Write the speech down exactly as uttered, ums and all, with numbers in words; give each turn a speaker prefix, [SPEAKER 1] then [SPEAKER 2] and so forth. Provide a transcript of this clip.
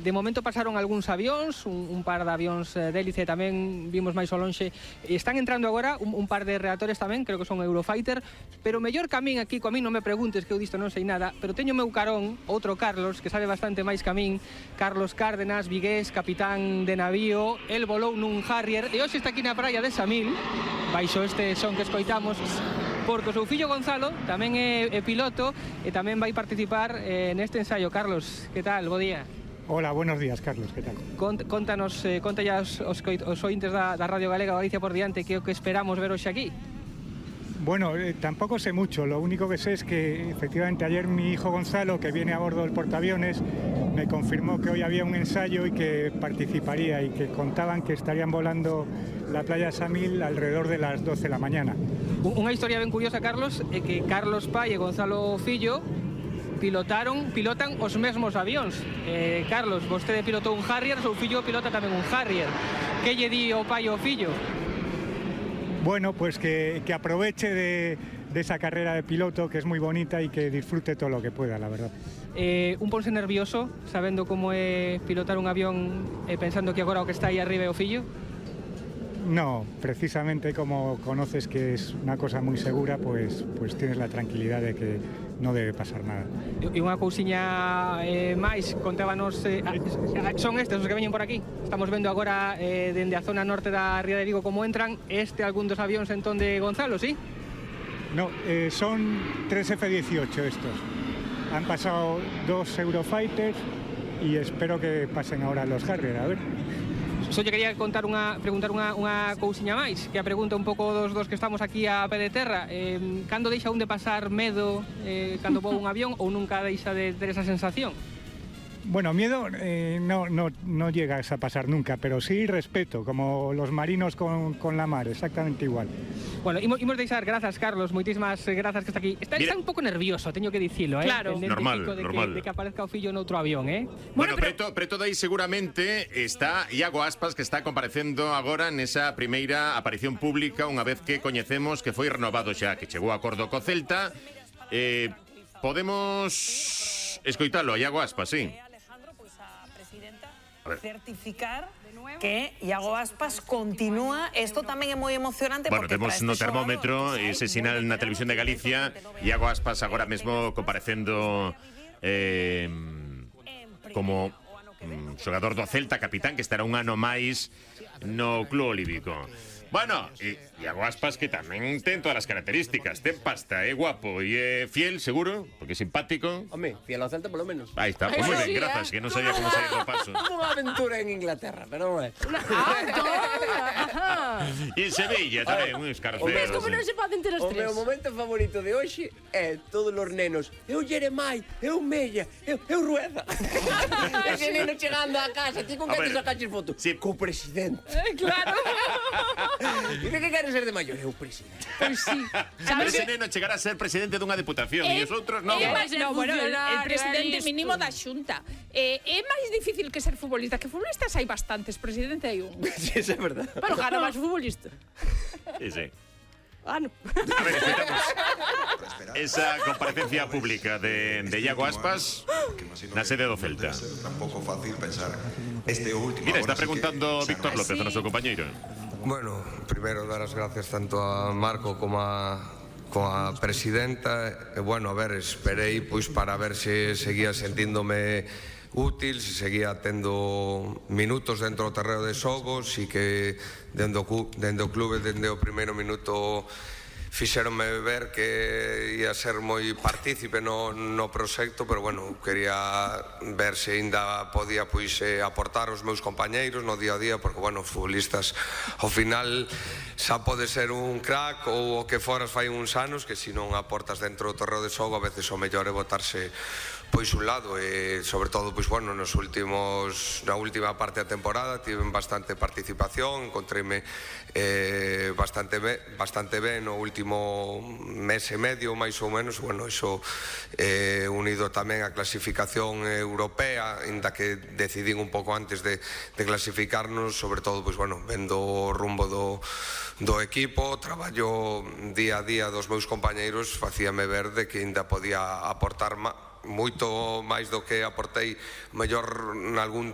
[SPEAKER 1] De momento pasaron algúns avións, un, un par de avións de hélice tamén vimos máis ao lonxe. Están entrando agora un, un par de reactores tamén, creo que son Eurofighter, pero mellor que a min aquí, coa min non me preguntes que eu disto non sei nada, pero teño meu carón, outro Carlos, que sabe bastante máis que a min, Carlos Cárdenas, vigués, capitán de navío, el volou nun Harrier, e hoxe está aquí na praia de Samil, baixo este son que escoitamos, porque o seu fillo Gonzalo tamén é, é piloto e tamén vai participar eh, neste ensayo. Carlos, que tal? Bo día.
[SPEAKER 2] Hola, buenos días, Carlos, ¿qué tal?
[SPEAKER 1] Cont, contanos, eh, conta ya os, os, os ointes da, da Radio Galega Galicia por diante que o que esperamos ver hoxe aquí.
[SPEAKER 2] Bueno, eh, tampoco sé mucho, lo único que sé es que efectivamente ayer mi hijo Gonzalo, que viene a bordo del portaaviones, me confirmó que hoy había un ensayo y que participaría y que contaban que estarían volando la playa Samil alrededor de las doce de la mañana.
[SPEAKER 1] Unha historia ben curiosa, Carlos, é que Carlos Pai e Gonzalo Fillo pilotaron, pilotan os mesmos avións. Eh, Carlos, vostede pilotou un Harrier, seu fillo pilota tamén un Harrier. Que lle di o pai ao fillo?
[SPEAKER 2] Bueno, pues que, que aproveche de, de esa carrera de piloto, que es muy bonita, y que disfrute todo lo que pueda, la verdad.
[SPEAKER 1] Eh, un ponse nervioso, sabendo como é pilotar un avión e eh, pensando que agora o que está aí arriba é o fillo?
[SPEAKER 2] No, precisamente como conoces que es una cosa muy segura, pues, pues tienes la tranquilidad de que no debe pasar nada.
[SPEAKER 1] E unha cousiña eh, máis, contábanos, eh, son estes os que veñen por aquí. Estamos vendo agora eh, dende a zona norte da Ría de Vigo como entran. Este algún dos avións entón de Gonzalo, ¿sí?
[SPEAKER 2] No, eh, son tres F dieciocho estos. Han pasado dos Eurofighters y espero que pasen ahora los Harrier, a ver.
[SPEAKER 1] Só lle quería contar unha, preguntar unha, unha cousiña máis, que a pregunta un pouco dos, dos que estamos aquí a pé de terra. Eh, cando deixa un de pasar medo eh, cando voa un avión ou nunca deixa de ter esa sensación?
[SPEAKER 2] Bueno, miedo eh, no, no, no llegas a pasar nunca, pero sí respeto, como los marinos con, con la mar, exactamente igual.
[SPEAKER 1] Bueno, imos, imos deixar, grazas, Carlos, moitísimas grazas que está aquí. Está, está un pouco nervioso, teño que dicilo, eh?
[SPEAKER 3] Claro.
[SPEAKER 1] De
[SPEAKER 3] Normal, normal.
[SPEAKER 1] Que, de que aparezca o fillo noutro avión, eh?
[SPEAKER 3] Bueno, bueno pero... preto, preto dai seguramente está Iago Aspas, que está comparecendo agora nesa primeira aparición pública, unha vez que coñecemos que foi renovado xa, que chegou a acordo co Celta. Eh, podemos escoitalo, Iago Aspas, sí.
[SPEAKER 4] Certificar que Iago Aspas continúa. Isto tamén é moi emocionante.
[SPEAKER 3] Bueno, temos no termómetro ese sinal na televisión de Galicia. Iago Aspas agora mesmo comparecendo eh, como mm, xogador do Celta, capitán, que estará un ano máis no Club Olímpico. Bueno, e Iago Aspas, que tamén ten todas as características. Ten pasta, é guapo e é fiel, seguro, porque é simpático.
[SPEAKER 5] Home, fiel ao Celta polo menos.
[SPEAKER 3] Aí está, pues moi ben, grazas, que non sabía como sair do paso.
[SPEAKER 5] Unha aventura en Inglaterra, pero non é.
[SPEAKER 3] E en Sevilla tamén, un escarceo.
[SPEAKER 6] Ves como non se poden ter os
[SPEAKER 5] O
[SPEAKER 6] tres.
[SPEAKER 5] meu momento favorito de hoxe é todos os nenos. Eu Jeremai, eu Mella, eu, eu Rueda. Ese neno chegando a casa, ti con que te sacaches foto?
[SPEAKER 3] Sí.
[SPEAKER 5] Co presidente.
[SPEAKER 6] Claro.
[SPEAKER 5] E de que queres ser de maior? Eu presidente.
[SPEAKER 6] Pois sí.
[SPEAKER 3] Ese neno chegará a ser presidente dunha deputación e os outros non.
[SPEAKER 6] É máis
[SPEAKER 7] No, bueno, el, el
[SPEAKER 6] funcionario,
[SPEAKER 7] presidente mínimo
[SPEAKER 6] isto.
[SPEAKER 7] da Xunta. Eh, é máis difícil que ser futbolista, que futbolistas hai bastantes, presidente hai un.
[SPEAKER 5] Sí, eso é verdad.
[SPEAKER 6] Pero gana máis futbolista.
[SPEAKER 3] Sí, sí.
[SPEAKER 6] Ah, no.
[SPEAKER 3] A ver, escuchamos esa comparecencia pública de, de Iago Aspas na sede do Celta.
[SPEAKER 8] Tampouco fácil pensar este último.
[SPEAKER 3] Mira, está preguntando Víctor López, o noso compañeiro.
[SPEAKER 9] Bueno, primeiro dar as gracias tanto a Marco como a coa presidenta e bueno, a ver, esperei pois para ver se seguía sentíndome útil, se seguía tendo minutos dentro do terreo de xogo, si que dende o, dende o clube, dende o primeiro minuto fixeronme ver que ia ser moi partícipe no, no proxecto, pero bueno, quería ver se ainda podía pois eh, aportar os meus compañeiros no día a día, porque bueno, futbolistas ao final xa pode ser un crack ou o que foras fai uns anos, que se non aportas dentro do terreo de xogo a veces o mellor é botarse pois un lado e sobre todo pois bueno, nos últimos na última parte da temporada tiven bastante participación, encontreime eh, bastante ben, bastante ben no último mes e medio máis ou menos, bueno, iso eh, unido tamén á clasificación europea, inda que decidín un pouco antes de, de clasificarnos, sobre todo pois bueno, vendo o rumbo do do equipo, traballo día a día dos meus compañeiros, facíame ver de que ainda podía aportar máis moito máis do que aportei mellor nalgún